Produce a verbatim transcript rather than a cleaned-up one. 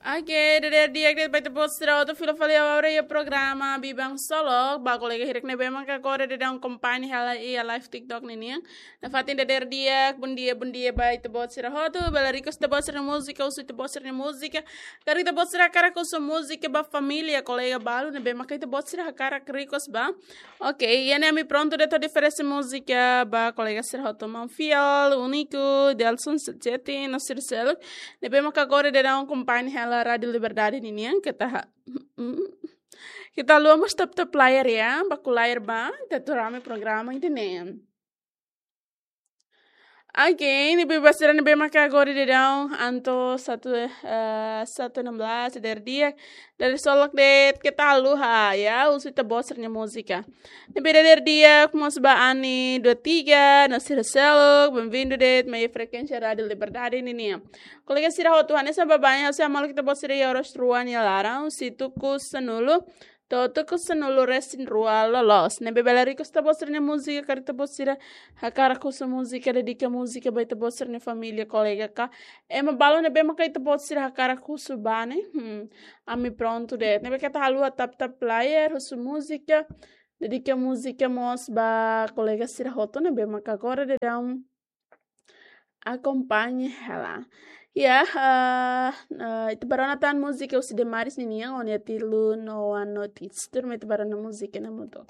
Oke, dadeer di'ak de'it ba ita-boot sira hotu, fila fali agora iha programa Biban Solok, ba kolega hirak ne'ebé maka agora daudaun akompaña hela iha live TikTok ninian. Nafatin dadeer di'ak, bondia, bondia ba ita-boot sira hotu, bele request ita-boot sira múzika, husu ita-boot sira múzika. Karik ita-boot sira hakarak husu múzika ba família, kolega balu ne'ebé maka ita-boot sira hakarak request ba. Oke, iha ne'e ami prontu de'it hodi oferese múzika ba kolega sira hotu, maun Fiel, Único, Delson Sete no sira seluk ne'ebé maka agora daudaun akompaña hela Rádio Liberdade ninian, keta ha-, keta haluha mós tap-tap layar ya, baku layar ba, ita atu rame programa ida-ne'e. Oke, ne'ebé ba sira ne'ebé maka agora daudaun, anto satu, eh, satu enam belas, dadeer di'ak, dadeer solok de'it, keta haluha ya, husu ita-boot sira-nia múzika. Ne'ebé dadeer di'ak mós ba Ani dua tiga, no sira seluk, bem-vindo de'it mai frekuénsia Rádio Liberdade ninian. Kolega sira hotu, hanesan baibain, ha'u sei hamaluk ita-boot sira iha oras rua nia laran, husi tuku sanulu to'o tuku sanulu-resin-rua loloos. Ne'ebé bele request ita-boot sira-nia múzika, karik ita-boot sira hakarak husu múzika, dedika múzika ba ita-boot sira-nia família, kolega ka ema balu ne'ebé maka ita-boot sira hakarak husu ba ne'e. Hmm, ami prontu de'it. Ne'ebé keta haluha tap-tap layar, husu múzika, dedika múzika mós ba kolega sira hotu ne'ebé maka agora daudaun akompaña hela. Ya, eh, eh, ita bá rona tan múzika husi Demaris ninian, Ó-nia Tilun Noa Notis. Tuirmai ita bá rona múzika ne'e hamutuk.